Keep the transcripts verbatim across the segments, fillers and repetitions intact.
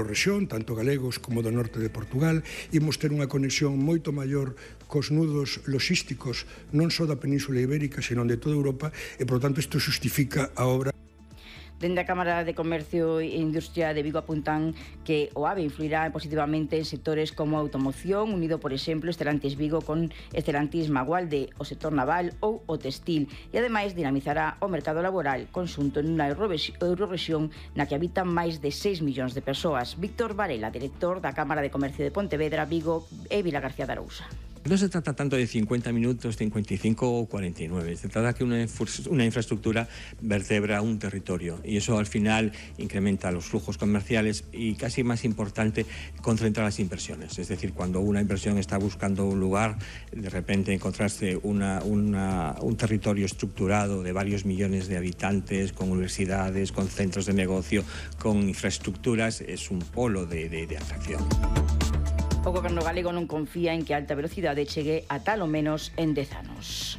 rexión, tanto galegos como do norte de Portugal, imos ter unha conexión moito maior cos nudos logísticos non só da Península Ibérica, senón de toda Europa, e, por tanto, isto justifica a obra. Dende a Cámara de Comercio e Industria de Vigo apuntan que o AVE influirá positivamente en sectores como a automoción, unido, por exemplo, Estelantis Vigo con Estelantis Magualde, o sector naval ou o textil, e ademais dinamizará o mercado laboral conxunto nunha eurorrexión na que habitan máis de seis millóns de persoas. Víctor Varela, director da Cámara de Comercio de Pontevedra, Vigo e Vilagarcía de Arousa. No se trata tanto de cincuenta minutos, cincuenta y cinco o cuarenta y nueve. Se trata que una, una infraestructura vertebra un territorio y eso al final incrementa los flujos comerciales y, casi más importante, concentra las inversiones. Es decir, cuando una inversión está buscando un lugar, de repente encontrarse una, una, un territorio estructurado de varios millones de habitantes, con universidades, con centros de negocio, con infraestructuras, es un polo de, de, de atracción. O goberno galego non confía en que a alta velocidade chegue a tal o menos en dez anos.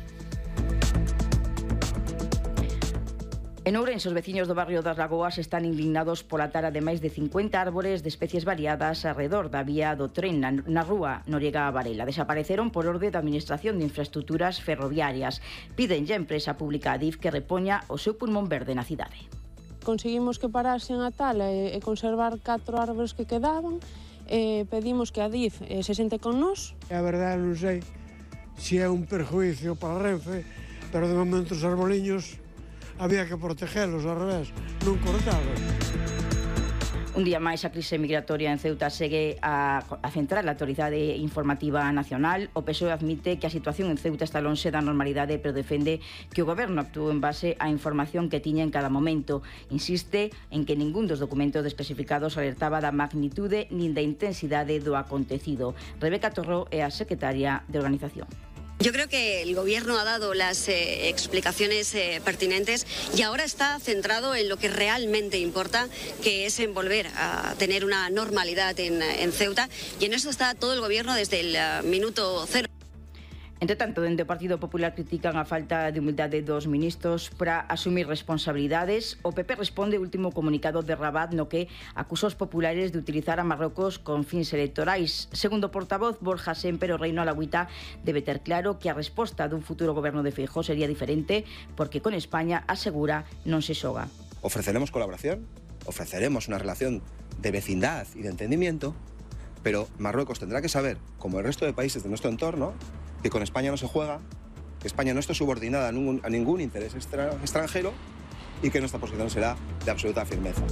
En Ourense, os veciños do barrio das Lagoas están indignados pola tara de máis de cincuenta árbores de especies variadas alrededor da vía do tren na, na rúa Noriega a Varela. Desapareceron por orde da Administración de Infraestructuras Ferroviarias. Pídenlle a empresa pública Adif que repoña o seu pulmón verde na cidade. Conseguimos que parasen a tala e, e conservar catro árbores que quedaban. Eh, pedimos que a Adif eh, se sente con nós. A verdade non sei se é un perjuicio para Renfe, pero de momento os arboliños había que protegelos, ao revés, non cortalos. Un día máis, a crise migratoria en Ceuta segue a, a centrar a Autoridade Informativa Nacional. O P S O E admite que a situación en Ceuta está lonxe da normalidade, pero defende que o goberno actuou en base á información que tiña en cada momento. Insiste en que ningún dos documentos desclasificados alertaba da magnitude nin da intensidade do acontecido. Rebeca Torró é a secretaria de organización. Yo creo que el Gobierno ha dado las eh, explicaciones eh, pertinentes y ahora está centrado en lo que realmente importa, que es en volver a tener una normalidad en, en Ceuta, y en eso está todo el Gobierno desde el uh, minuto cero. Entre tanto, dende o Partido Popular critican a falta de humildade dos ministros para asumir responsabilidades. O P P responde o último comunicado de Rabat no que acusa os populares de utilizar a Marrocos con fins electorais. Segundo o portavoz Borja Sémper, o Reino Alagüita debe ter claro que a resposta dun futuro goberno de Feijóo sería diferente porque con España, asegura, non se xoga. Ofreceremos colaboración, ofreceremos una relación de vecindad y de entendimiento, pero Marruecos tendrá que saber, como el resto de países de nuestro entorno, que con España no se juega, que España no está subordinada a ningún, a ningún interés extra, extranjero y que nuestra posición será de absoluta firmeza.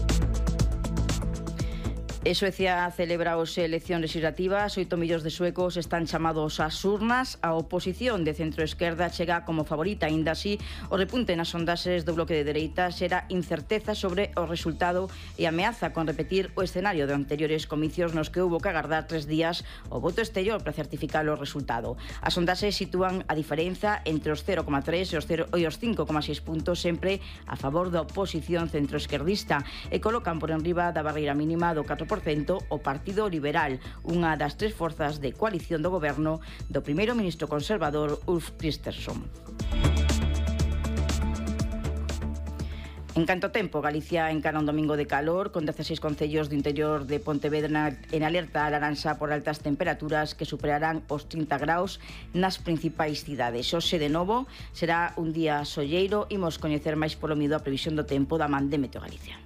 E Suecia celebra hoxe eleccións legislativas. Oito millóns de suecos están chamados ás urnas. A oposición de centro-esquerda chega como favorita. Aínda así, o repunte nas sondaxes do bloque de dereita xera incerteza sobre o resultado e ameaza con repetir o escenario de anteriores comicios nos que houbo que agardar tres días o voto exterior para certificar o resultado. As sondaxes sitúan a diferenza entre os cero coma tres e os, cero, e os cinco coma seis puntos sempre a favor da oposición centro-esquerdista e colocan por enriba da barreira mínima do catro por cento o Partido Liberal, unha das tres forzas de coalición do goberno do primeiro ministro conservador Ulf Kristersson. En canto tempo, Galicia encara un domingo de calor con dezaseis concellos do interior de Pontevedra en alerta a laranxa por altas temperaturas que superarán os trinta graus nas principais cidades. Hoxe, de novo, será un día solleiro. Imos coñecer máis polo mido a previsión do tempo da man de Meteo Galicia.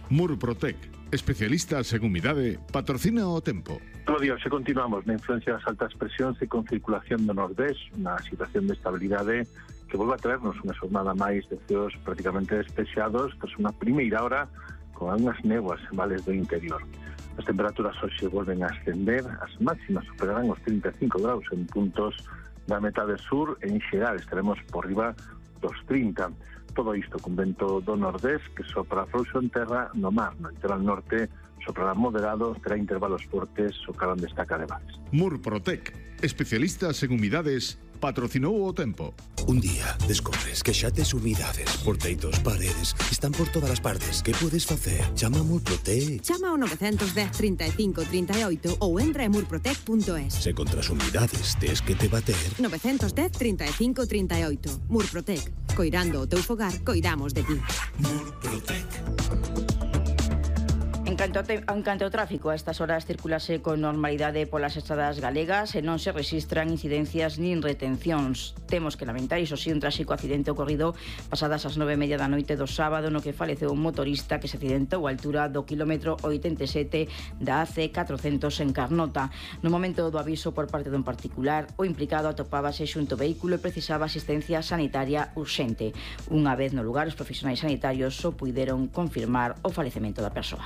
Murprotec, especialistas en humidade, patrocina o tempo. Todo día se continuamos na influencia das altas presións e con circulación do nordés, na situación de estabilidade que volve a traernos unha xornada máis de ceos prácticamente despexados tras unha primeira hora con algunhas néboas en vales do interior. As temperaturas hoxe volven a ascender, as máximas superarán os trinta e cinco graus en puntos da metade sur e en xeral estaremos por riba dos trinta. Todo isto con vento do nordés que sopra frouxo en terra no mar. No litoral norte soprará moderado, terá intervalos fortes o calor destaca de vales. Murprotec, especialistas en humidades, patrocinou o tempo. Un día descobres que xa tes humidades por teitos, paredes, están por todas as partes. Que podes facer? Chama a Murprotec. Chama ao nove dez, trinta e cinco, trinta e oito ou entra en murprotec punto es. Se contra as humidades tes que te bater. nove dez, trinta e cinco, trinta e oito. Murprotec. Coirando o teu fogar, coidamos de ti. Murprotec. En canto, te, en canto ao tráfico, a estas horas circulase con normalidade polas estradas galegas e non se registran incidencias nin retencións. Temos que lamentar, iso sí, un tráxico accidente ocorrido pasadas as nove e media da noite do sábado, no que faleceu un motorista que se accidentou á altura do quilómetro oitenta e sete da A C catrocentos en Carnota. No momento do aviso por parte dun particular, o implicado atopábase xunto ao vehículo e precisaba asistencia sanitaria urxente. Unha vez no lugar, os profesionais sanitarios só puideron confirmar o falecemento da persoa.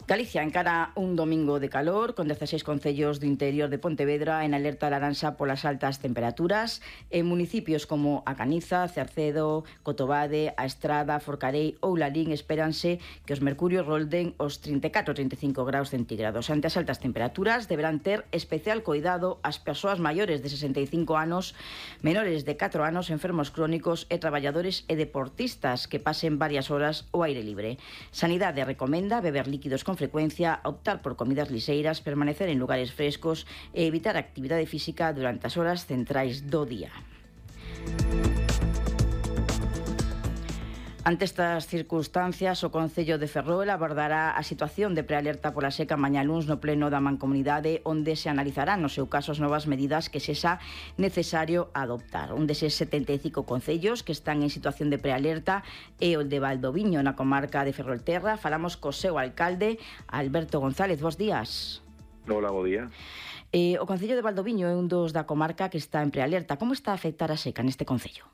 Galicia encara un domingo de calor con dezasseis concellos do interior de Pontevedra en alerta laranxa polas altas temperaturas. En municipios como A Caniza, Cercedo, Cotobade, A Estrada, Forcarei ou Lalín espéranse que os mercurios rolden os trinta e catro a trinta e cinco graus centígrados. Ante as altas temperaturas deberán ter especial cuidado as persoas maiores de sesenta e cinco anos, menores de catro anos, enfermos crónicos e traballadores e deportistas que pasen varias horas ao aire libre. Sanidade recomenda beber líquidos con frecuencia, optar por comidas liseiras, permanecer en lugares frescos e evitar a actividade física durante as horas centrais do día. Ante estas circunstancias, o Concello de Ferrol abordará a situación de prealerta pola seca mañá luns no pleno da Mancomunidade, onde se analizarán no seu caso as novas medidas que sexa necesario adoptar. Un deses setenta e cinco concellos que están en situación de prealerta é o de Valdoviño, na comarca de Ferrolterra. Falamos co seu alcalde, Alberto González. Bos días. Hola, bo día. Eh, o Concello de Valdoviño é un dos da comarca que está en prealerta. Como está a afectar a seca neste concello?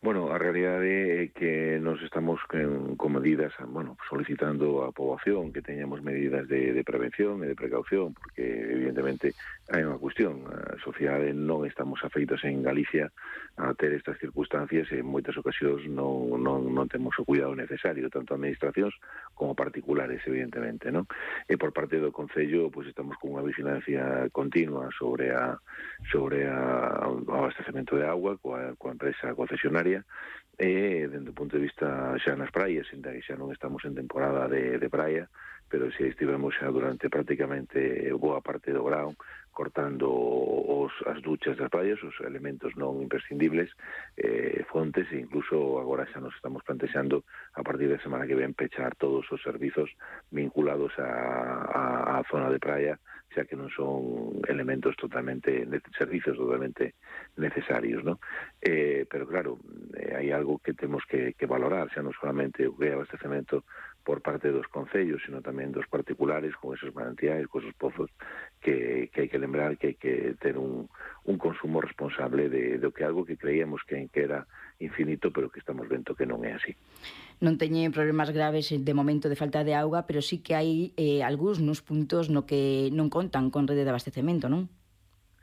Bueno, a realidade é que nos estamos con, con medidas, bueno, solicitando á poboación que teñamos medidas de, de prevención e de precaución, porque evidentemente hai unha cuestión, a sociedade non estamos afeitos en Galicia a ter estas circunstancias e en moitas ocasións non, non, non temos o cuidado necesario, tanto administracións como particulares, evidentemente, non? E por parte do Concello, pois estamos con unha vigilancia continua sobre a sobre a, o abastecemento de agua coa, coa empresa concesionaria e, dende o punto de vista xa nas praias, ainda que xa non estamos en temporada de, de praia, pero se estivemos xa durante prácticamente boa parte do verão cortando os, as duchas das praias, os elementos non imprescindibles, eh, fontes, e incluso agora xa nos estamos plantexando a partir da semana que ven pechar todos os servizos vinculados a, a, a zona de praia, xa que non son elementos totalmente, servicios totalmente necesarios, ¿no? Eh, pero claro, eh, hai algo que temos que, que valorar, xa non solamente o que é abastecemento por parte dos concellos, sino tamén dos particulares con esos manantiais, con esos pozos, que, que hai que lembrar que hai que ter un, un consumo responsable de, de que algo que creíamos que, que era infinito, pero que estamos vendo que non é así. Non teñen problemas graves de momento de falta de auga, pero sí que hai eh, algúns nos puntos no que non contan con rede de abastecemento, non?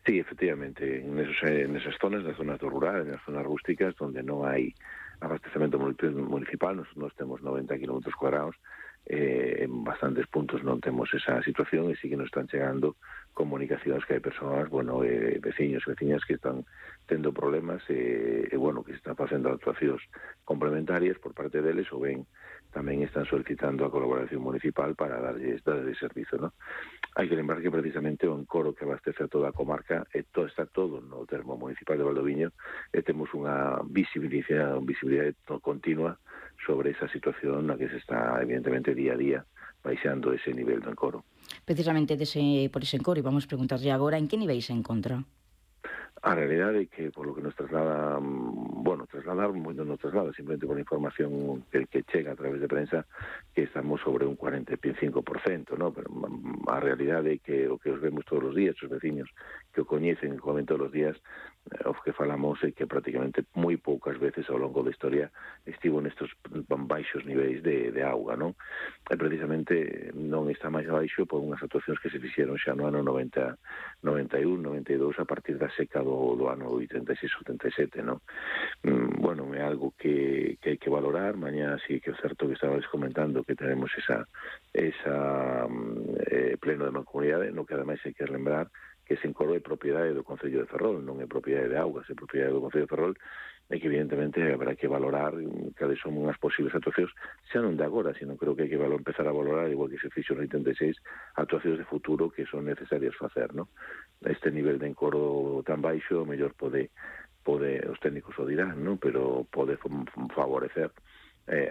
Sí, efectivamente, en, esos, en esas zonas, nas zonas do rural, en as zonas rústicas, onde non hai abastecemento municipal, nos, nos temos noventa kilómetros cuadrados, eh, en bastantes puntos non temos esa situación e sí que nos están chegando comunicacións que hai persoas, bueno, eh, veciños e veciñas que están tendo problemas e, eh, bueno, que están facendo actuacións complementarias por parte deles, ou ben tamén están solicitando a colaboración municipal para darlles, darlles servizo, ¿no? Hai que lembrar que precisamente o encoro que abastece a toda a comarca e todo, está todo no termo municipal de Valdoviño e temos unha visibilidade, unha visibilidade continua sobre esa situación na que se está, evidentemente, día a día baixando ese nivel do encoro. Precisamente dese, por ese encoro, e vamos preguntarlle agora en que nivel se encontra. A realidade é que, por lo que nos traslada, bueno, trasladar, moito nos traslada, simplemente por información que, que chega a través de prensa, que estamos sobre un cuarenta e cinco por cento, ¿no? Pero a realidade é que o que os vemos todos os días, os veciños que o coñecen, que comen todos os días, o que falamos é que prácticamente moi poucas veces ao longo da historia estivo nestos baixos niveis de, de auga, non? E precisamente non está máis baixo por unhas actuacións que se fixeron xa no ano noventa, noventa e un, noventa e dous a partir da seca do, do ano oitenta e seis, oitenta e sete, non? Mm, bueno, é algo que, que hai que valorar. Mañá sí que é certo que estabais comentando que tenemos esa, esa eh, pleno de mancomunidade, no que ademais hai que lembrar que ese encoro é propiedade do Concello de Ferrol, non é propiedade de Augas, é propiedade do Concello de Ferrol, e que evidentemente habrá que valorar cales son unhas posibles actuacións, xa non de agora, sino creo que hai que valor, empezar a valorar, igual que se fixo no oitenta e seis, actuacións de futuro que son necesarias facer, non? Este nivel de encoro tan baixo, o mellor pode pode, os técnicos o dirán, ¿no? Pero pode favorecer eh,